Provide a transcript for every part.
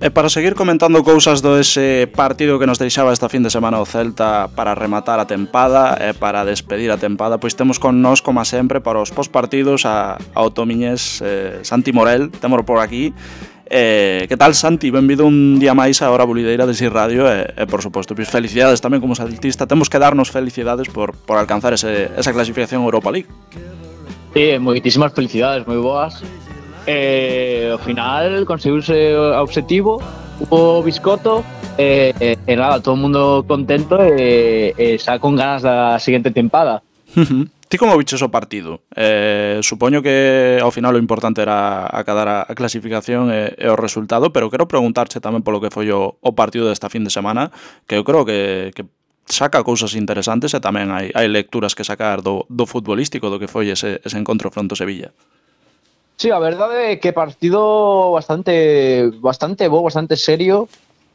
E para seguir comentando cousas do ese partido que nos deixaba esta fin de semana o Celta para rematar a tempada e para despedir a tempada, pois temos con nós, como sempre, para os postpartidos ao Tomiñés Santi Morel, témolo por aquí. Que tal, Santi? Benvido un día máis a Hora Bulideira de Sir Radio e por suposto, pois felicidades tamén como celtista. Temos que darnos felicidades por alcanzar esa clasificación Europa League. Sí, moitísimas felicidades, moi boas. Ao final conseguiuse o obxectivo, o biscoto e nada, todo o mundo contento e xa con ganas da seguinte tempada. Ti como viches o partido? Supoño que ao final o importante era acadar a clasificación e o resultado, pero quero preguntarche tamén polo que foi o partido desta fin de semana, que eu creo que saca cousas interesantes e tamén hai lecturas que sacar do futbolístico do que foi ese encontro fronte ao Sevilla. Sí, a verdade é que partido bastante bo, bastante serio.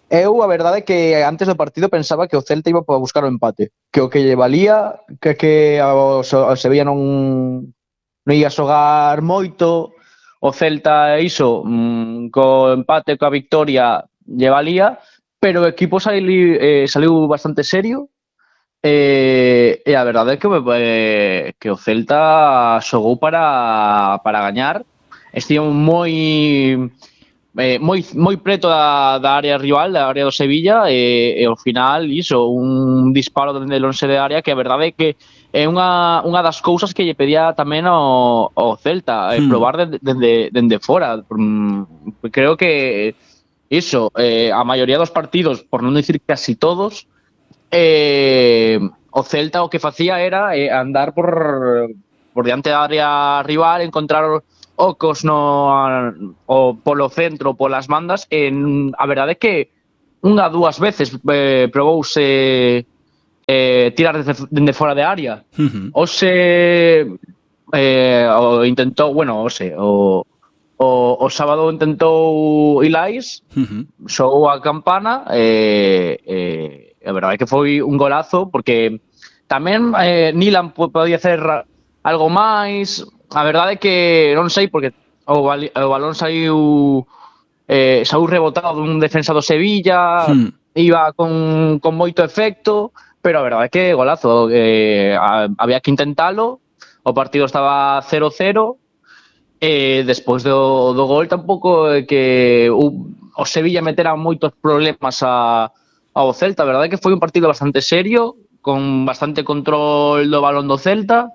Eu, a verdade é que antes do partido pensaba que o Celta iba para buscar o empate, que o que lle valía, que o Sevilla non ia xogar moito, o Celta iso, co empate, coa victoria lle valía, pero o equipo saliu bastante serio. E a verdade é que o Celta xogou para gañar. Estivo moi preto da área rival, da área do Sevilla, e ao final iso, un disparo dende lonxe de área que a verdade é que é unha das cousas que lle pedía tamén ao Celta, probar dende fora. Creo que iso, a maioría dos partidos, por non dicir casi todos, o Celta o que facía era andar por diante da área rival, encontrar ocos o polo centro, polas bandas, a verdade é que unha dúas veces probouse tirar dende fora de área. Ose intentou, o sábado intentou Ilais, xogou a campana e a verdade é que foi un golazo, porque tamén Nilan podía hacer algo máis. A verdade é que non sei, porque o balón saiu rebotado dun defensa do Sevilla, iba con moito efecto, pero a verdade é que golazo, había que intentalo. O partido estaba 0-0 e despois do gol tampouco é que o Sevilla metera moitos problemas ao Celta. A verdade é que foi un partido bastante serio, con bastante control do balón do Celta.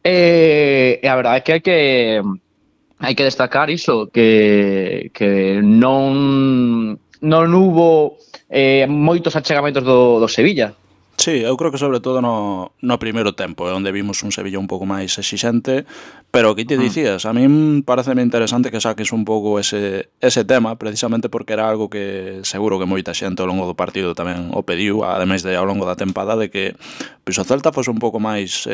E a verdade é que hai que destacar iso, que non hubo moitos achegamentos do Sevilla. Sí, eu creo que sobre todo no primeiro tempo é onde vimos un Sevilla un pouco máis exixente, pero que te dicías, a min pareceme interesante que saques un pouco ese tema, precisamente porque era algo que seguro que moita xente ao longo do partido tamén o pediu, ademais de ao longo da tempada, de que pois o Celta fose un pouco máis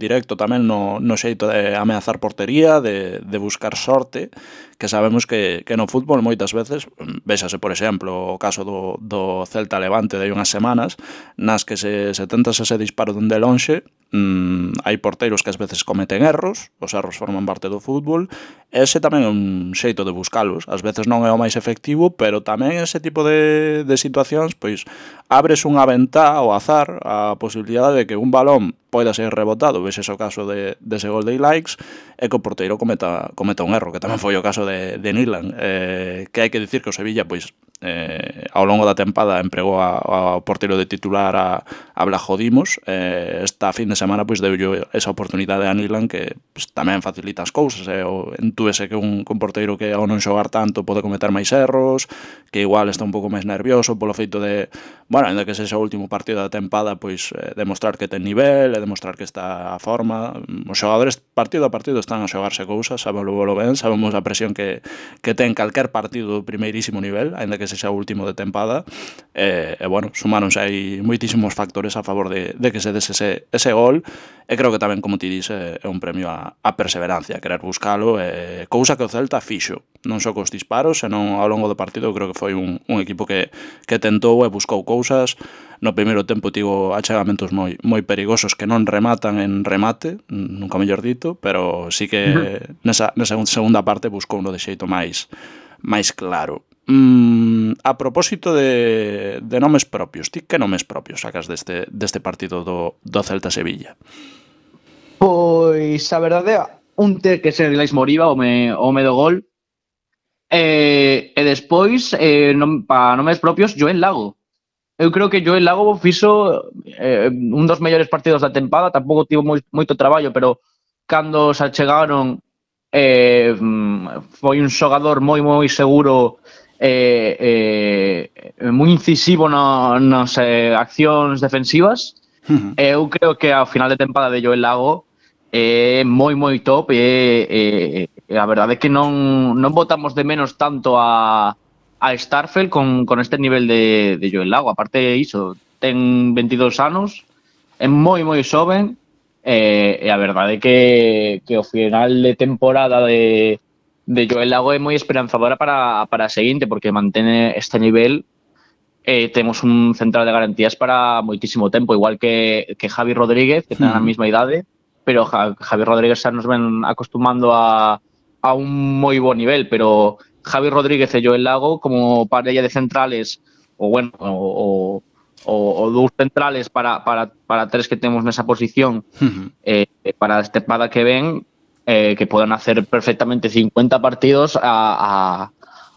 directo tamén no xeito de ameazar portería, de buscar sorte, que sabemos que no fútbol moitas veces, véxase por exemplo o caso do Celta Levante de hai unhas semanas, nas que se tentas ese disparo dende lonxe, hai porteiros que ás veces cometen erros, os erros forman parte do fútbol, ese tamén é un xeito de buscalos, ás veces non é o máis efectivo, pero tamén ese tipo de situacións, pois abres unha ventá ao azar a posibilidade de que un balón poida ser rebotado, ves o caso dese gol de Ilaix, e que o porteiro cometa un erro, que tamén foi o caso de Nilan, que hai que dicir que o Sevilla, pois, ao longo da tempada empregou ao porteiro de titular a Blajo Dimos, esta fin de semana pois deulle esa oportunidade a Nilan, que pois, tamén facilita as cousas, entúese que un porteiro que ao non xogar tanto pode cometer máis erros, que igual está un pouco máis nervioso polo feito de, ainda que sexa o último partido da tempada, pois demostrar que ten nivel, demostrar que está a forma. Os xogadores partido a partido están a xogarse cousas, sabemos ben, sabemos a presión que ten calquer partido do primeirísimo nivel, aínda que sexa o último de tempada, sumáronse aí moitísimos factores a favor de que se dese ese gol, e creo que tamén, como ti dices, é un premio a perseverancia, a querer buscalo, cousa que o Celta fixo, non só cos disparos, senón ao longo do partido. Creo que foi un equipo que tentou e buscou cousas. No primeiro tempo tivo achegamentos moi perigosos que non rematan en remate, nunca mellor dito, pero sí que nesa segunda parte buscou uno de xeito máis claro. A propósito de nomes propios, ti que nomes propios sacas deste partido do Celta-Sevilla? Pois a verdade, un ter que ser Ilais Moriba, o me do gol. E despois, para nomes propios, Joel Lago. Eu creo que Joel Lago fixo un dos mellores partidos da tempada, tampouco tivo moito traballo, pero cando se achegaron foi un xogador moi seguro, moi incisivo nas accións defensivas. Eu creo que ao final de tempada de Joel Lago é moi top e a verdade é que non botamos de menos tanto a Starfelt con este nivel de Joel Lago. Aparte iso, ten 22 anos, é moi xoven e a verdade é que o final de temporada de Joel Lago é moi esperanzadora para a seguinte, porque mantén este nivel. Temos un central de garantías para moitísimo tempo, igual que Javi Rodríguez, que ten a mesma idade, pero Javi Rodríguez xa nos ven acostumando a un moi bo nivel, pero Javi Rodríguez e Joel Lago como parella de centrales, ou bueno, o dous centrales para tres que temos nesa posición, para a tempada que ven, que poden hacer perfectamente 50 partidos a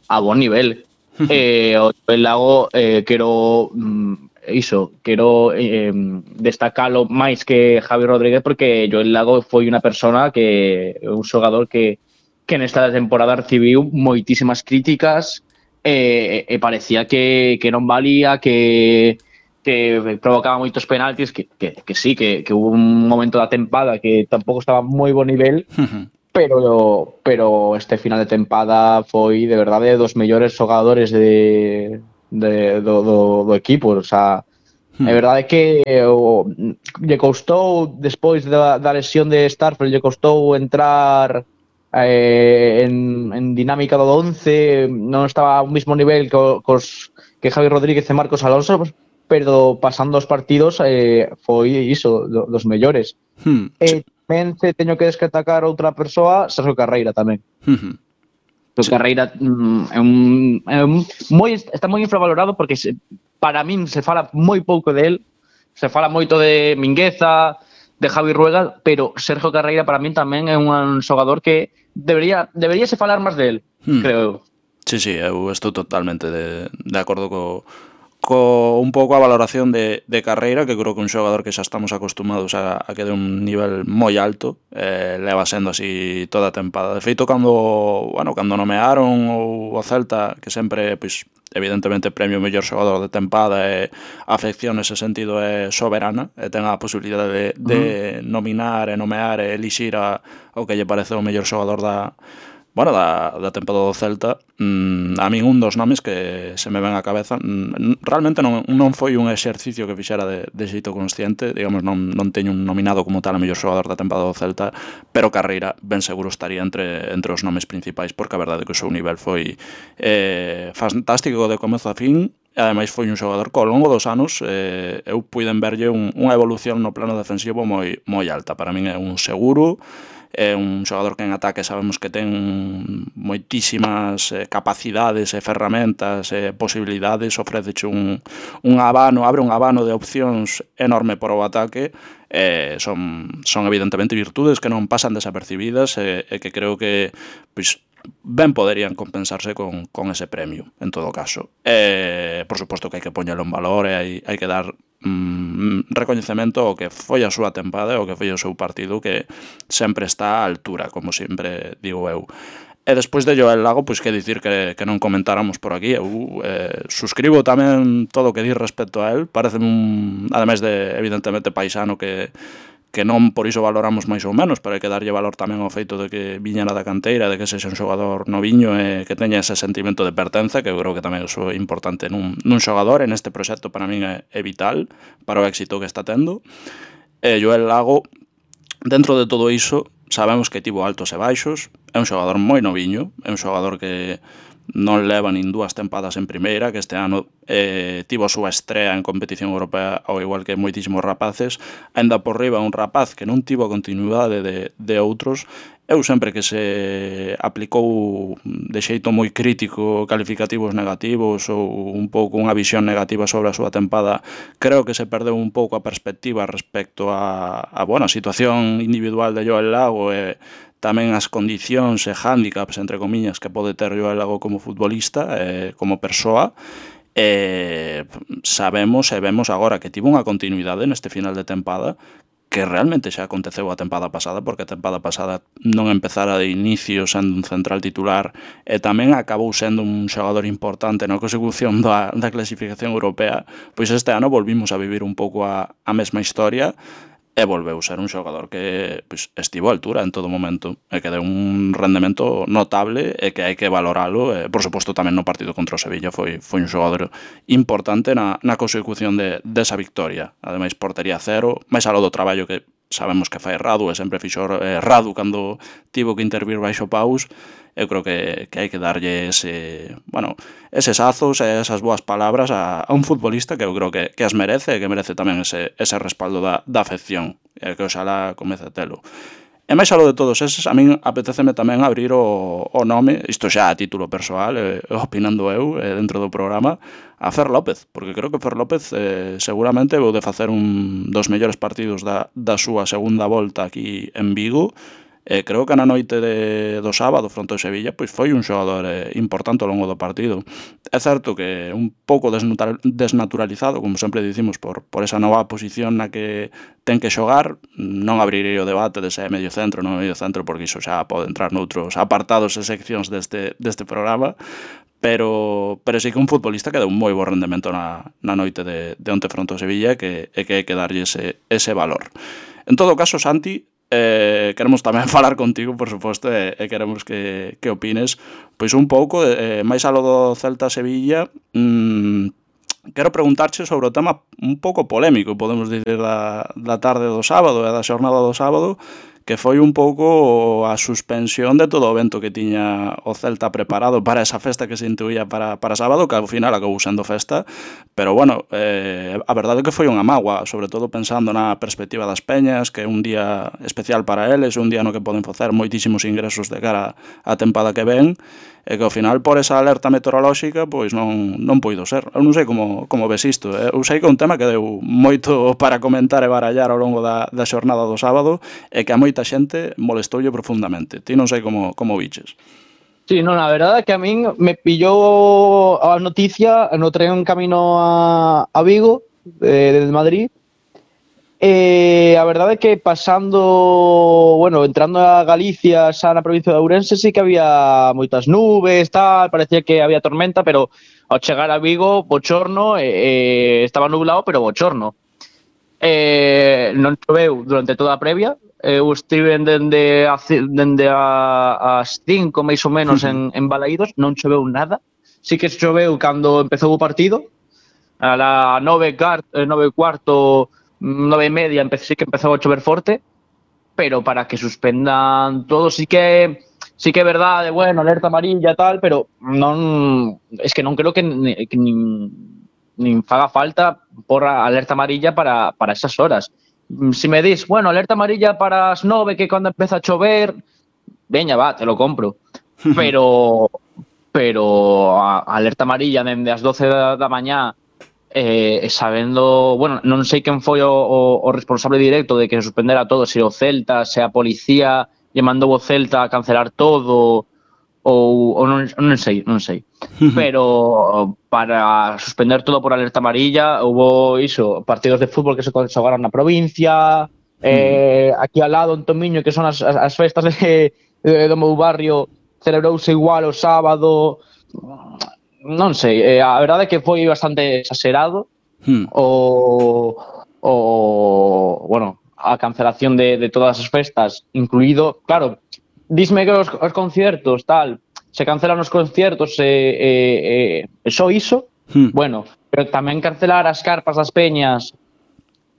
bon nivel. O Joel Lago quero destacalo máis que Javi Rodríguez, porque Joel Lago foi unha persona un xogador que nesta temporada recibiu moitísimas críticas e parecía que non valía, que provocaba moitos penaltis, que sí, que hubo un momento da tempada que tampouco estaba moi bo nivel, pero este final de tempada foi de verdade dos mellores xogadores do equipo. O sea, é verdade que lle costou despois da lesión de Starfelt, lle costou entrar en dinámica do 11, non estaba ao mesmo nivel que Javi Rodríguez e Marcos Alonso, pero pasando os partidos foi iso, dos mellores. Tamén teño que destacar outra persoa, Sergio Carreira tamén. Sergio Carreira está moi infravalorado, porque para min se fala moi pouco de él, se fala moito de Mingueza, de Javi Rueda, pero Sergio Carreira para min tamén é un xogador que debería se falar máis de él, creo eu. Sí, eu estou totalmente de acordo co un pouco a valoración de Carreira, que creo que un xogador que xa estamos acostumados a que de un nivel moi alto, leva sendo así toda a tempada. De feito, cando nomearon o Celta, que sempre, pois, evidentemente, premio mellor xogador de tempada, e a afección nese sentido é soberana, e ten a posibilidade de nominar e nomear e elixir o que lle parece o mellor xogador da tempada do Celta. A min un dos nomes que se me ven á cabeza, realmente non foi un exercicio que fixera de xeito consciente, digamos, non teño un nominado como tal a mellor xogador da tempada do Celta, pero Carreira ben seguro estaría entre os nomes principais, porque a verdade é que o seu nivel foi fantástico de comezo a fin. Ademais foi un xogador que ao longo dos anos eu puiden verlle unha evolución no plano defensivo moi alta. Para min é un seguro, é un xogador que en ataque sabemos que ten moitísimas capacidades e ferramentas e posibilidades, ofreceche un abano, abre un abano de opcións enorme para o ataque. Son evidentemente virtudes que non pasan desapercibidas e que creo que, pois, ben poderían compensarse con ese premio, en todo caso. Por suposto que hai que poñelo en valor e hai que dar recoñecemento ao que foi a súa tempada e ao que foi o seu partido, que sempre está á altura, como sempre digo eu. E despois de Joel Lago, pois que dicir que non comentáramos por aquí. Eu suscribo tamén todo o que di respecto a él. Parece ademais de, evidentemente, paisano, que non por iso valoramos máis ou menos, pero hai que darlle valor tamén ao feito de que viñera da canteira, de que sexa un xogador noviño e que teña ese sentimento de pertenza, que eu creo que tamén é importante nun xogador. En este proxecto para min é vital para o éxito que está tendo. Joel Lago, dentro de todo iso, sabemos que tivo altos e baixos, é un xogador moi noviño, é un xogador que non leva nin 2 tempadas en primeira, que este ano tivo a súa estrea en competición europea, ao igual que moitísimos rapaces. Ainda por riba un rapaz que non tivo a continuidade de outros, Eu sempre que se aplicou de xeito moi crítico calificativos negativos ou un pouco unha visión negativa sobre a súa tempada, creo que se perdeu un pouco a perspectiva respecto a situación individual de Joel Lago e tamén as condicións e hándicaps, entre comillas, que pode ter Joel Lago como futbolista, como persoa. Sabemos e vemos agora que tivo unha continuidade neste final de tempada que realmente xa aconteceu a tempada pasada, porque a tempada pasada non empezara de inicio sendo un central titular e tamén acabou sendo un xogador importante na consecución da clasificación europea, pois este ano volvimos a vivir un pouco a mesma historia e volveu ser un xogador que estivo a altura en todo momento e que deu un rendemento notable e que hai que valoralo. Por suposto, tamén no partido contra o Sevilla foi un xogador importante na consecución desa victoria. Ademais, portería cero, máis aló do traballo que sabemos que fai Radu e sempre fixo Radu cando tivo que intervir baixo paus. Eu creo que hai que darlle eses azos e esas boas palabras a un futbolista que eu creo que as merece e que merece tamén ese respaldo da afección e que oxalá comece a telo. E máis aló de todos eses, a min apeteceme tamén abrir o nome, isto xa a título persoal, opinando eu dentro do programa, a Fer López, porque creo que Fer López seguramente vou de facer un dos mellores partidos da súa segunda volta aquí en Vigo. Creo que na noite do sábado fronte ao Sevilla foi un xogador importante ao longo do partido. É certo que un pouco desnaturalizado, como sempre dicimos, por esa nova posición na que ten que xogar. Non abrirei o debate de se é medio centro ou non medio centro, porque iso xa pode entrar noutros apartados e seccións deste programa, pero sí que un futbolista que deu un moi bo rendemento na noite de onte fronte ao Sevilla e que hai que darlle ese valor. En todo caso, Santi, queremos tamén falar contigo, por suposto, e queremos que opines pois un pouco, máis aló do Celta-Sevilla. Quero preguntarche sobre o tema un pouco polémico, podemos dicir, da tarde do sábado e da xornada do sábado, que foi un pouco a suspensión de todo o evento que tiña o Celta preparado para esa festa que se intuía para sábado, que ao final acabou sendo festa, pero bueno, a verdade é que foi unha mágoa, sobre todo pensando na perspectiva das peñas, que é un día especial para eles, un día no que poden facer moitísimos ingresos de cara á tempada que ven, e que ao final por esa alerta meteorolóxica pois non puido ser. Eu non sei como ves isto. Eu sei que é un tema que deu moito para comentar e barallar ao longo da xornada do sábado e que a moita xente molestoulle profundamente. Ti non sei como viches. Sí, no, la verdad que a min me pillou a noticia no tren camino a Vigo, desde Madrid. A verdade é que entrando a Galicia, xa na provincia de Ourense, sí que había moitas nubes, tal, parecía que había tormenta, pero ao chegar a Vigo, bochorno, estaba nublado, pero bochorno. Non choveu durante toda a previa. Eu estive dende as 5 máis ou menos en Balaídos, non choveu nada. Sí que choveu cando empezou o partido, a la 9:15, 9:30 sí que empezou a chover forte, pero para que suspendan todo sí que é verdade, alerta amarilla e tal, pero es que non creo que nin faga falta por alerta amarilla para esas horas. Si me dis, alerta amarilla para as 9, que cando empeza a chover, veña, va, te lo compro. Pero alerta amarilla dende as 12 da mañá, sabendo, non sei quen foi o responsable directo de que se suspendera todo, se o Celta, se a policía lle mandou o Celta a cancelar todo ou non sei. Pero para suspender todo por alerta amarilla houbo partidos de fútbol que se xogaron na provincia, aquí ao lado en Tomiño, que son as festas do meu barrio, celebrouse igual o sábado. Non sei, a verdade é que foi bastante exagerado a cancelación de todas as festas, incluído, claro, dísme que os conciertos, tal, se cancelan os conciertos e só iso, pero tamén cancelar as carpas das peñas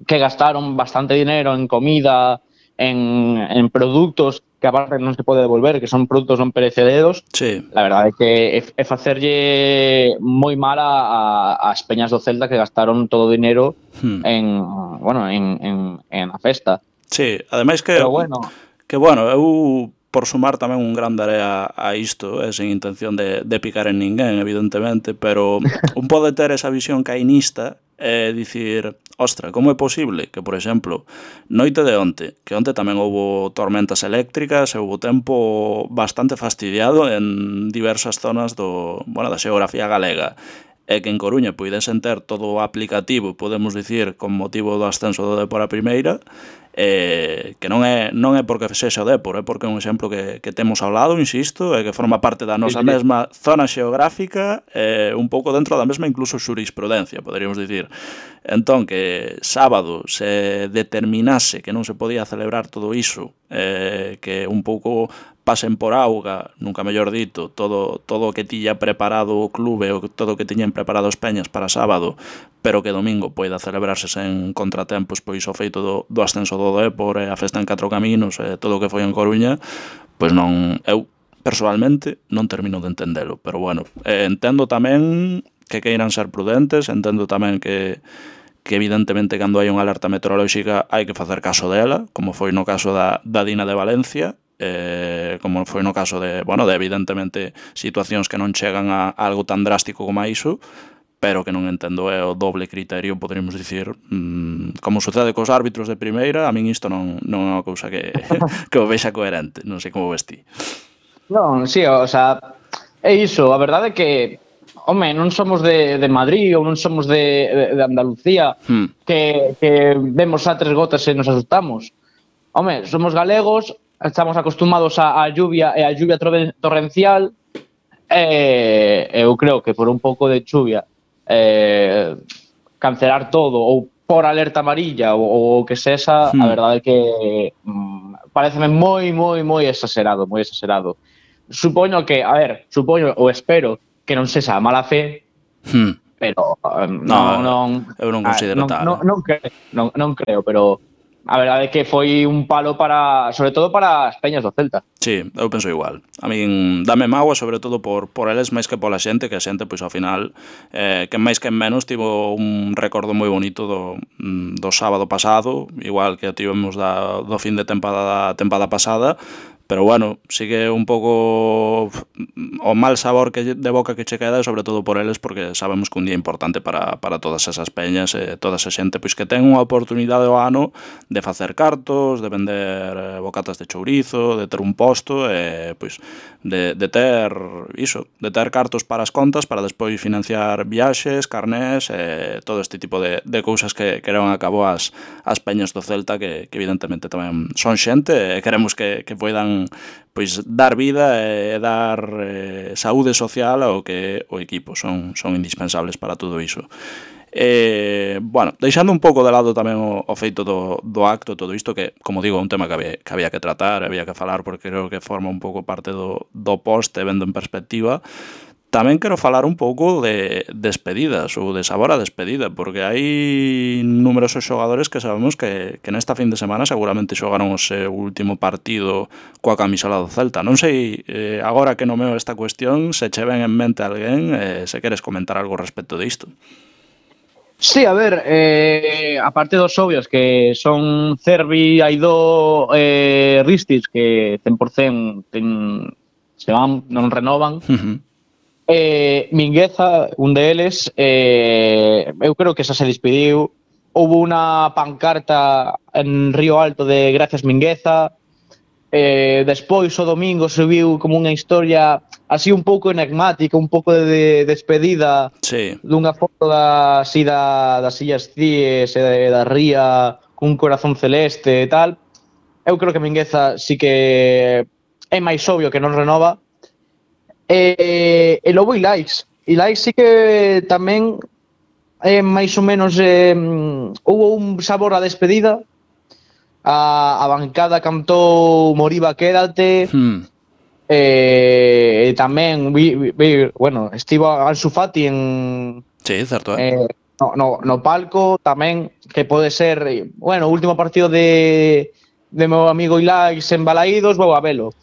que gastaron bastante dinero en comida, en productos que aparte non se pode devolver, que son produtos non perecederos. Sí. La verdade é que é facerlle moi mal ás peñas do Celta que gastaron todo o dinero en a festa. Sí, ademais que pero eu por sumar tamén un gran area a isto, sen intención de picar en ninguén, evidentemente, pero un pode ter esa visión cainista e dicir, ostra, como é posible que, por exemplo, noite de onte, que onte tamén houbo tormentas eléctricas e houbo tempo bastante fastidiado en diversas zonas da xeografía galega, e que en Coruña puidesen ter todo o aplicativo, podemos dicir, con motivo do ascenso do Dépor a primeira, que non é porque sexa o Dépor, é porque é un exemplo que temos ao lado, insisto, e que forma parte da nosa mesma zona xeográfica, un pouco dentro da mesma incluso xurisprudencia, poderíamos dicir. Entón, que sábado se determinase que non se podía celebrar todo iso, que un pouco pasen por auga, nunca mellor dito, todo o que tiña preparado o clube, ou todo o que tiñan preparado os peñas para sábado, pero que domingo poida celebrarse sen contratempos, pois o feito do ascenso do Dépor e a festa en 4 caminos e todo o que foi en Coruña, pois non, eu persoalmente non termino de entendelo, pero bueno, entendo tamén que queiran ser prudentes, entendo tamén que evidentemente cando hai unha alerta meteorolóxica hai que facer caso dela, como foi no caso da Dina de Valencia, como foi no caso de evidentemente situacións que non chegan a algo tan drástico como a iso, pero que non entendo é o doble criterio, poderíamos dicir, como sucede cos árbitros de primeira, a min isto non é unha cousa que o vexa coherente, non sei como ves ti. Non, sí, o sea, é iso, a verdade é que non somos de Madrid ou non somos de Andalucía, que vemos a 3 gotas e nos asustamos. Somos galegos, estamos acostumados á lluvia e á lluvia torrencial, eu creo que por un pouco de chuvia cancelar todo ou por alerta amarilla ou que sexa, a verdade é que pareceme moi exagerado, moi exagerado. Supoño ou espero que non sexa mala fe, pero eu non considero tal. Non creo, pero a verdade é que foi un palo sobre todo para as peñas do Celta. Sí, eu penso igual. A min dame mágoa, sobre todo por eles máis que pola xente, que a xente, pois ao final, que máis que menos, tivo un recordo moi bonito do sábado pasado, igual que tivemos do fin de tempada pasada, pero bueno, sigue un pouco o mal sabor de boca que che queda, sobre todo por eles, porque sabemos que un día importante para todas esas peñas e toda esa xente pois que ten unha oportunidade ao ano de facer cartos, de vender bocatas de chourizo, de ter un posto e pois de ter cartos para as contas para despois financiar viaxes, carnés e todo este tipo de cousas que levan a cabo as peñas do Celta que evidentemente tamén son xente e queremos que poidan pois dar vida e dar saúde social ao que o equipo son indispensables para todo iso. Deixando un pouco de lado tamén o feito do acto, todo isto que, como digo, é un tema que había que tratar, había que falar porque creo que forma un pouco parte do post e vendo en perspectiva. Tamén quero falar un pouco de despedidas ou de sabor a despedida, porque hai numerosos xogadores que sabemos que nesta fin de semana seguramente xogaron o seu último partido coa camisola do Celta. Non sei, agora que nomeo esta cuestión, se che ven en mente alguén, se queres comentar algo respecto disto. Sí, a ver, aparte dos obvios que son Cervi, Aidó, Ristis, que 100% se van, non renovan. Mingueza, un deles, eu creo que xa se despediu. Houve unha pancarta en Río Alto de Gracias Mingueza. Despois o domingo se viu como unha historia así un pouco enigmática, un pouco de despedida, sí, dunha foto das Illas Cíes e da ría cun corazón celeste e tal. Eu creo que Mingueza sí que é máis obvio que non renova. E logo Ilais sí que tamén é máis ou menos houve un sabor a despedida. A bancada cantou Moriba quédate. E tamén estivo Ansu Fati sí, certo, no palco tamén, que pode ser o último partido de meu amigo Ilais en Balaídos, vou a velo.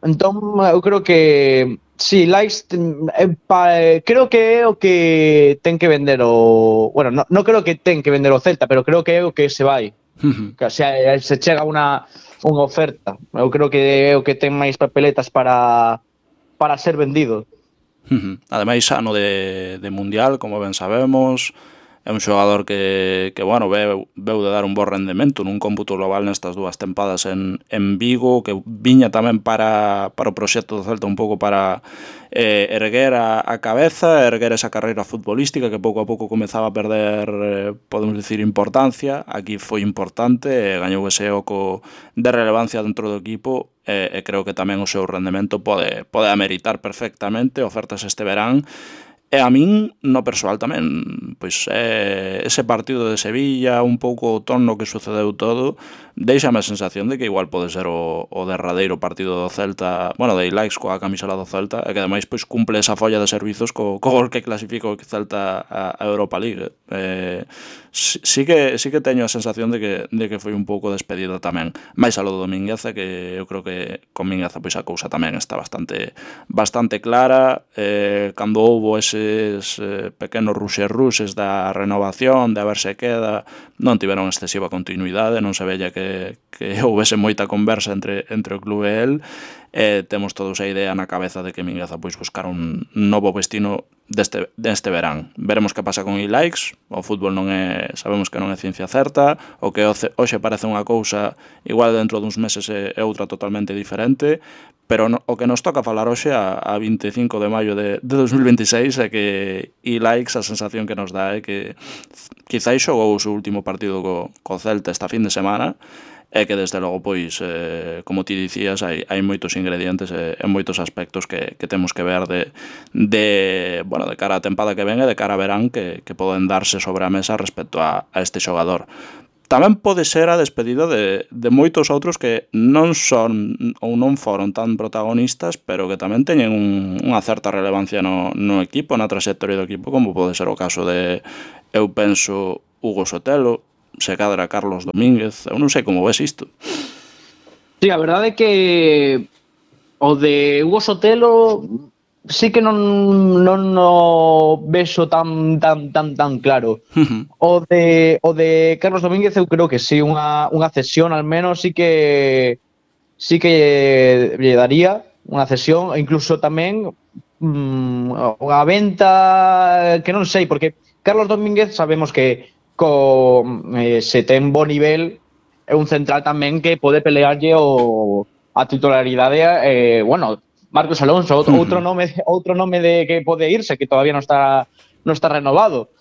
Entón eu creo que sí, Ilais creo que é o que ten que vender non creo que ten que vender o Celta, pero creo que é o que se vai. Que se chega unha oferta. Eu creo que é o que ten máis papeletas para ser vendido. Ademais, ano de Mundial, como ben sabemos, é un xogador que bueno, veu de dar un bo rendemento nun cómputo global nestas dúas tempadas en Vigo, que viña tamén para o proxecto do Celta un pouco para erguer a cabeza, erguer esa carreira futbolística que pouco a pouco comezaba a perder, podemos dicir, importancia. Aquí foi importante, gañou ese oco de relevancia dentro do equipo, e creo que tamén o seu rendemento pode ameritar perfectamente ofertas este verán. E a min, no persoal tamén, pois ese partido de Sevilla, un pouco o tono que sucedeu todo, deixame a sensación de que igual pode ser o derradeiro partido do Celta, bueno, de Ilaix coa camisela do Celta, e que ademais pois cumple esa folla de servizos co gol que clasifica o Celta a Europa League. Sí que teño a sensación de que foi un pouco despedida tamén. Mais a lo do Mingueza, que eu creo que con Mingueza pois a cousa tamén está bastante clara. Cando houbo eses pequenos ruxes da renovación, de a ver se queda, non tiveron excesiva continuidade, non se vella que houvese moita conversa entre o clube e el. Temos todos a idea na cabeza de que Mingueza pois buscar un novo destino deste verán. Veremos que pasa con Ilaix. O fútbol sabemos que non é ciencia certa, o que hoxe parece unha cousa, igual dentro duns meses é outra totalmente diferente, pero o que nos toca falar hoxe a 25 de maio de 2026 é que Ilaix, a sensación que nos dá é que quizáis xogou o seu último partido co Celta esta fin de semana, é que desde logo, pois, como ti dicías, hai moitos ingredientes e moitos aspectos que temos que ver bueno, de cara á tempada que ven e de cara a verán que poden darse sobre a mesa respecto a este xogador. Tamén pode ser a despedida de moitos outros que non son ou non foron tan protagonistas, pero que tamén teñen unha certa relevancia no equipo, na trayectoria do equipo, como pode ser o caso de, eu penso, Hugo Sotelo, se cadra Carlos Domínguez. Eu non sei como ves isto. Sí, a verdade é que o de Hugo Sotelo sí que non no vexo tan claro. O de Carlos Domínguez eu creo que sí, unha cesión al menos sí que lle daría unha cesión, e incluso tamén unha venta que non sei, porque Carlos Domínguez sabemos que se ten bo nivel, é un central tamén que pode pelearlle a titularidade. Bueno, Marcos Alonso, outro nome de que pode irse, que todavía non está renovado.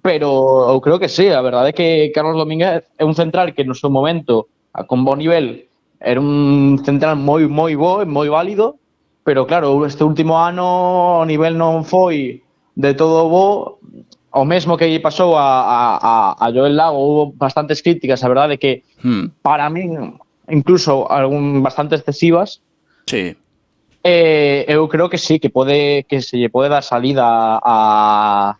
Pero eu creo que sí, a verdade é que Carlos Domínguez é un central que no seu momento, con bo nivel, era un central moi bo e moi válido, pero claro, este último ano o nivel non foi de todo bo. O mesmo que lle pasou a Joel Lago, houve bastantes críticas, a verdade é que para min incluso bastante excesivas. Sí. Eu creo que sí, que se lle pode dar salida a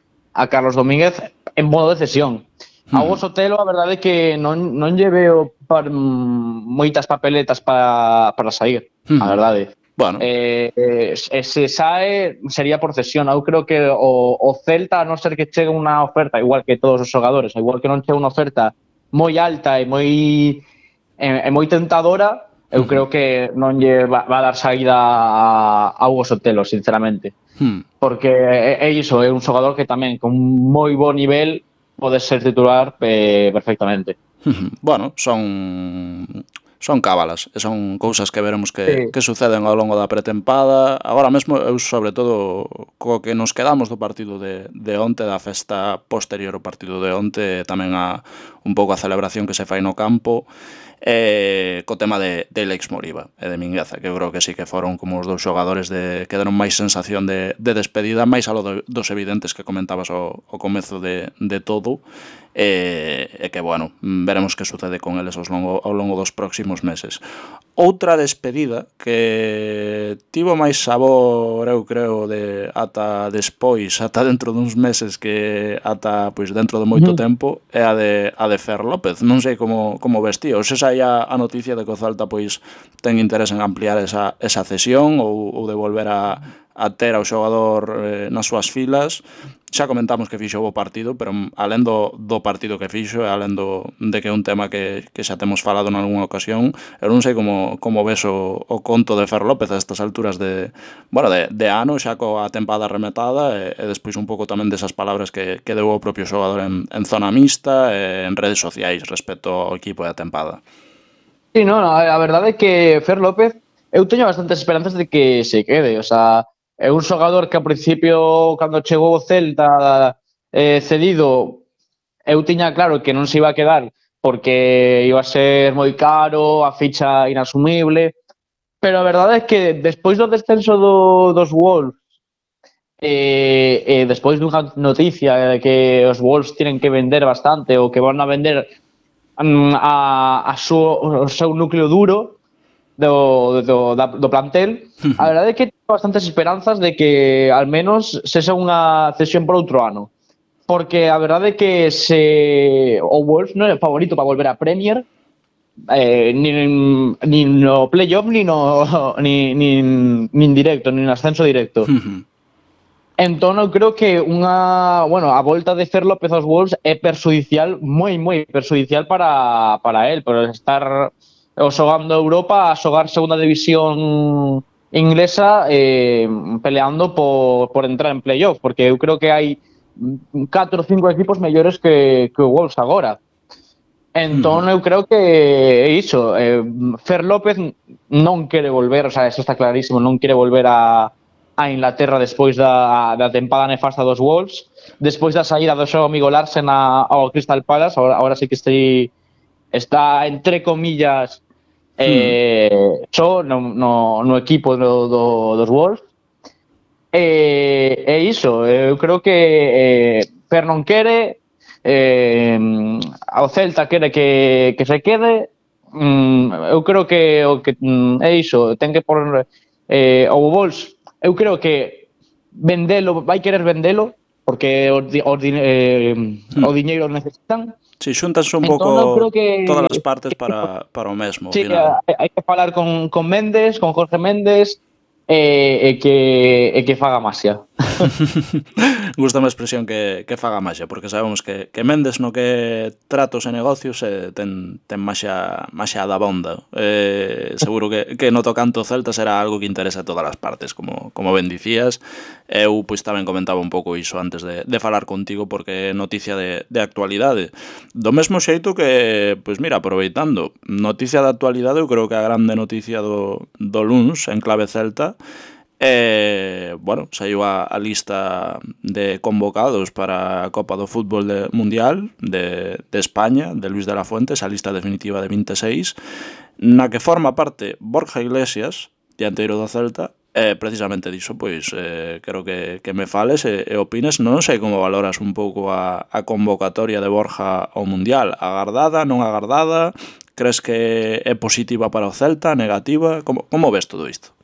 Carlos Domínguez en modo de cesión. A Hugo Sotelo, a verdade é que non lle veo moitas papeletas para sair, a verdade. Bueno. Se sae sería por cesión. Eu creo que o Celta, a non ser que chegue unha oferta, igual que todos os xogadores, igual que non chegue unha oferta moi alta e moi tentadora, eu creo que non lle va a dar saída a Hugo Sotelo, sinceramente. Porque é iso, é un xogador que tamén con moi bo nivel pode ser titular perfectamente. Bueno, son cábalas, e son cousas que veremos que suceden ao longo da pretempada. Agora mesmo, eu sobre todo co que nos quedamos do partido de onte, da festa posterior ao partido de onte, tamén un pouco a celebración que se fai no campo, co tema de Ilaix Moriba e de Mingueza, que eu creo que sí que foron como os dous xogadores que deron máis sensación de despedida, máis alo dos evidentes que comentabas ao comezo de todo, e que, bueno, veremos que sucede con eles ao longo dos próximos meses. Outra despedida que tivo máis sabor, eu creo, ata despois, ata dentro duns meses, que ata pois dentro de moito tempo, é a de Fer López. Non sei como vestío. Se saía a noticia de que o Celta pois ten interés en ampliar esa cesión ou de volver a a ter ao xogador nas súas filas. Xa comentamos que fixo o bo partido, pero alén do partido que fixo e alén de que é un tema que xa temos falado nalgúna ocasión, eu non sei como ves o conto de Fer López a estas alturas de ano, xa coa tempada remetada e despois un pouco tamén desas palabras que deu o propio xogador en zona mixta e en redes sociais respecto ao equipo e a tempada. Sí, no, a verdade é que Fer López, eu teño bastantes esperanzas de que se quede, o sea, é un xogador que ao principio, cando chegou o Celta cedido, eu tiña claro que non se iba a quedar porque iba a ser moi caro, a ficha inasumible, pero a verdade é que despois do descenso dos Wolves despois dunha noticia de que os Wolves tienen que vender bastante ou que van a vender o seu núcleo duro do plantel, a verdade é que tengo bastantes esperanzas de que al menos sexa unha cesión por outro ano, porque a verdade é que se o Wolves non é favorito para volver a Premier, nin no playoff nin directo, nin ascenso directo. Entón eu creo que a volta de Fer López aos Wolves é perxudicial, moi perxudicial para él, por estar xogando Europa, a xogar segunda división inglesa, peleando por entrar en playoff, porque eu creo que hai 4 ou 5 equipos mellores que o Wolves agora. Entón eu creo que é iso, Fer López non quere volver, o sea, eso está clarísimo, non quere volver a Inglaterra despois da tempada nefasta dos Wolves, despois da saída do seu amigo Larsen ao Crystal Palace, ahora sí que está entre comillas só no equipo dos Wolves. É iso, eu creo que Fer non quere, ao Celta quere que se quede. Eu creo que é iso, ten que por o Wolves, eu creo que vai querer vendelo porque o diñeiro necesitan. Si, xuntanse un pouco todas as partes para o mesmo. Sí, hai que falar con Méndez, con Jorge Méndez, e que faga maxia. Gústame a expresión que faga maxia, porque sabemos que Méndez no que tratos e negocios ten maxia da bonda. Seguro que no tocante ao Celta será algo que interesa a todas as partes, como ben dicías. Eu pois tamén comentaba un pouco iso antes de falar contigo, porque é noticia de actualidade. Do mesmo xeito que, pois mira, aproveitando, noticia de actualidade, eu creo que a grande noticia do luns en clave Celta, saiu a lista de convocados para a Copa do Fútbol Mundial de España, de Luis de la Fuente, esa lista definitiva de 26, na que forma parte Borja Iglesias, dianteiro do Celta. Precisamente diso, pois quero que me fales e opines. Non sei como valoras un pouco a convocatoria de Borja ao Mundial. Agardada, non agardada? Crees que é positiva para o Celta, negativa? Como ves todo isto?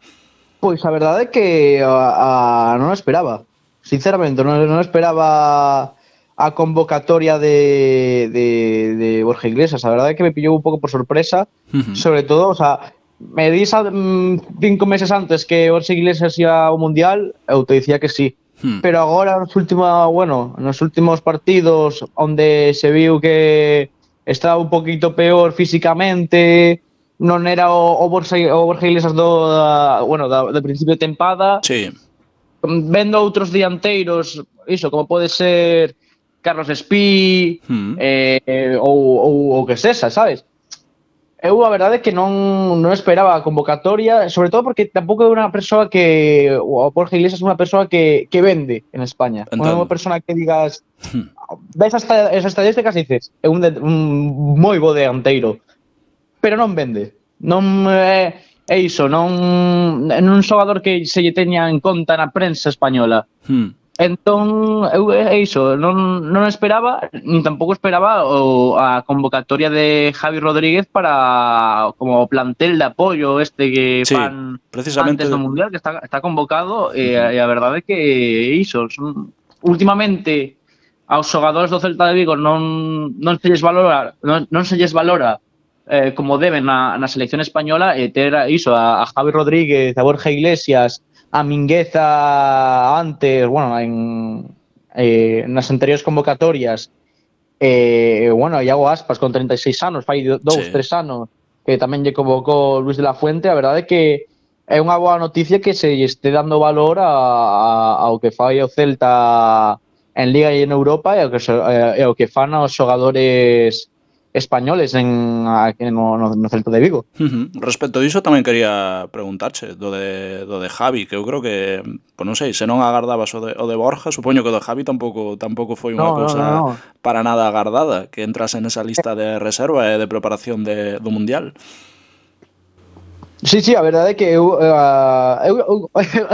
Pois a verdade é que non esperaba. Sinceramente, non esperaba a convocatoria de Borja Iglesias. A verdade é que me pillou un pouco por sorpresa, sobre todo, o sea, me dis 5 meses antes que Borja Iglesias ia ao Mundial, eu te dicía que sí. Pero agora nos últimos partidos onde se viu que estaba un poquito peor físicamente, non era o Borja Iglesias do principio de tempada. Sí. Vendo outros dianteiros, iso, como pode ser Carlos Espí, ou que sexa, sabes? Eu a verdade é que non esperaba a convocatoria, sobre todo porque tampouco é unha persoa que o Borja Iglesias é unha persoa que vende en España. Non é unha persoa que digas ves as estadísticas e dices é un moi bo dianteiro, pero non vende. Non é iso, non é un xogador que se lle teña en conta na prensa española. Entón, eu é iso, non esperaba, nin tampouco esperaba a convocatoria de Javi Rodríguez para como plantel de apoio que fan antes do Mundial, que está convocado, e a verdade é que é iso. Últimamente, aos xogadores do Celta de Vigo non se lles valora como deben na selección española, e ter iso, a Javi Rodríguez, a Borja Iglesias, a Mingueza antes, bueno, nas anteriores convocatorias, bueno, Iago Aspas con 36 anos, fai 2, 3 anos, que tamén lle convocou Luis de la Fuente. A verdade é que é unha boa noticia que se este dando valor ao que fai o Celta en Liga e en Europa e ao que fan os xogadores españoles no Celta de Vigo. Respecto diso tamén quería preguntarche do de Javi, que eu creo que, pues non sei, se non agardabas o de Borja, supoño que o de Javi tampouco foi unha cousa para nada agardada, que entrase nesa lista de reserva e de preparación do Mundial. Sí, a verdade é que eu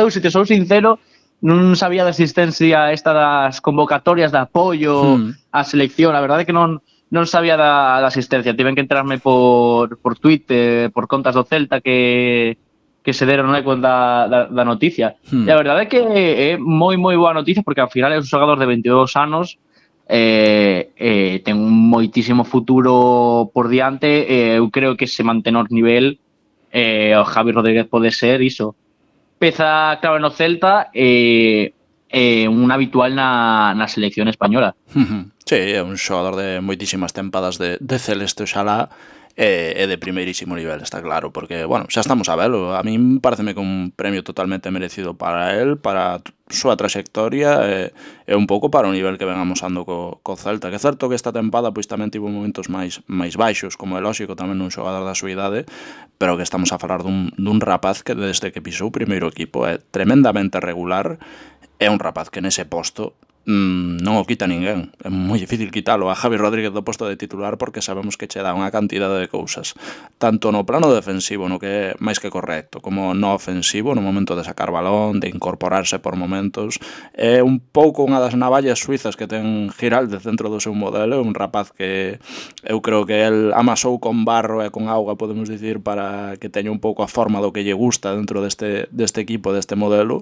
se te sou sincero, non sabía da existencia esta das convocatorias de apoio á selección. A verdade é que non sabía da asistencia. Tiven que entrarme por Twitter, por contas do Celta que se deron eco da noticia. E a verdade é que é moi boa noticia, porque ao final é un xogador de 22 anos, ten un moitísimo futuro por diante. Eu creo que se mantén ao nivel, o Javi Rodríguez pode ser iso, peza clave no Celta, un habitual na selección española. Sí, é un xogador de moitísimas tempadas de celeste, oxalá, e de primeirísimo nivel, está claro, porque, bueno, xa estamos a velo. A min pareceme que un premio totalmente merecido para él, para a súa trayectoria e un pouco para o nivel que ven amosando co Celta. Que é certo que esta tempada pois tamén tivo momentos máis baixos, como é lóxico tamén un xogador da súa idade, pero que estamos a falar dun rapaz que desde que pisou o primeiro equipo é tremendamente regular. É un rapaz que nese posto non o quita ninguén. É moi difícil quitalo a Javi Rodríguez do posto de titular, porque sabemos que che dá unha cantidade de cousas, tanto no plano defensivo, no que é máis que correcto, como no ofensivo, no momento de sacar balón, de incorporarse por momentos. É un pouco unha das navallas suizas que ten Giraldez dentro do seu modelo. É un rapaz que eu creo que el amasou con barro e con auga, podemos dicir, para que teña un pouco a forma do que lle gusta dentro deste equipo, deste modelo.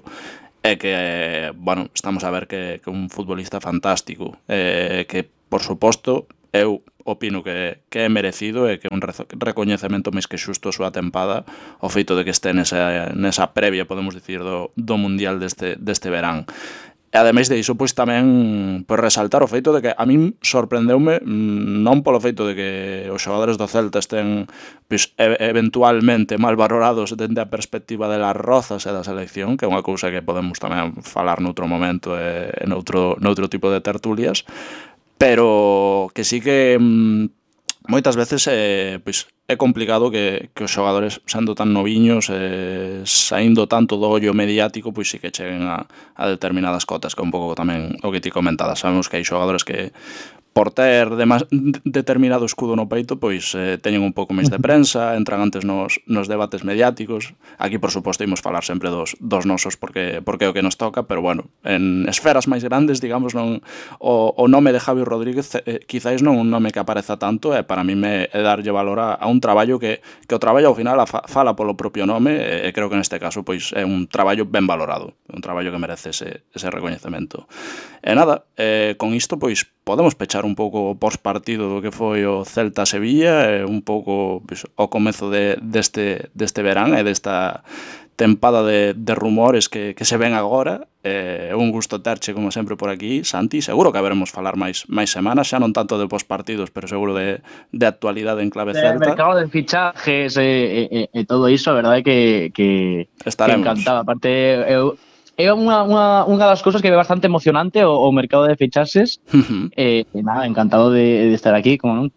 É que, bueno, estamos a ver que un futbolista fantástico, que, por suposto, eu opino que é merecido e que é un recoñecemento máis que xusto a súa tempada, o feito de que este nesa previa, podemos dicir, do Mundial deste verán. E ademais de iso, pois tamén resaltar o feito de que a min sorprendeume, non polo feito de que os xogadores do Celta estén pois eventualmente mal valorados dende a perspectiva de Las Rozas e da selección, que é unha cousa que podemos tamén falar noutro momento e noutro tipo de tertulias, pero que sí que moitas veces pois é complicado que os xogadores, sendo tan noviños, saindo tanto do ollo mediático, pois sí que cheguen a determinadas cotas, que é un pouco tamén o que ti comentadas. Sabemos que hai xogadores que, por ter determinado escudo no peito, pois teñen un pouco máis de prensa, entran antes nos debates mediáticos. Aquí, por suposto, imos falar sempre dos nosos, porque é o que nos toca, pero, bueno, en esferas máis grandes, digamos, non o nome de Javi Rodríguez quizáis non un nome que apareza tanto, e para mí é darlle valor a un traballo que o traballo ao final fala polo propio nome, e creo que neste caso pois é un traballo ben valorado, un traballo que merece ese recoñecemento. E nada, con isto pois podemos pechar un pouco o postpartido do que foi o Celta-Sevilla, un pouco pois, o comezo deste verán e desta tempada de rumores que se ven agora. É un gusto terche, como sempre, por aquí, Santi. Seguro que haberemos falar máis semanas, xa non tanto de postpartidos, pero seguro de actualidade en clave Celta. De mercado de fichajes e todo iso, a verdade que encantado. Aparte, é unha das cousas que é bastante emocionante o mercado de fichaxes. Nada, encantado de estar aquí, como non.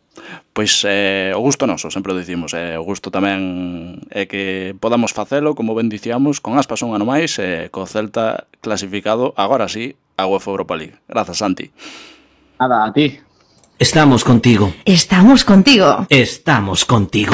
Pois o gusto noso, sempre o dicimos, o gusto tamén é que podamos facelo, como ben dicíamos, con Aspas un ano máis, co Celta clasificado, agora sí, a UEFA Europa League. Grazas, Santi. Nada, a ti. Estamos contigo. Estamos contigo. Estamos contigo.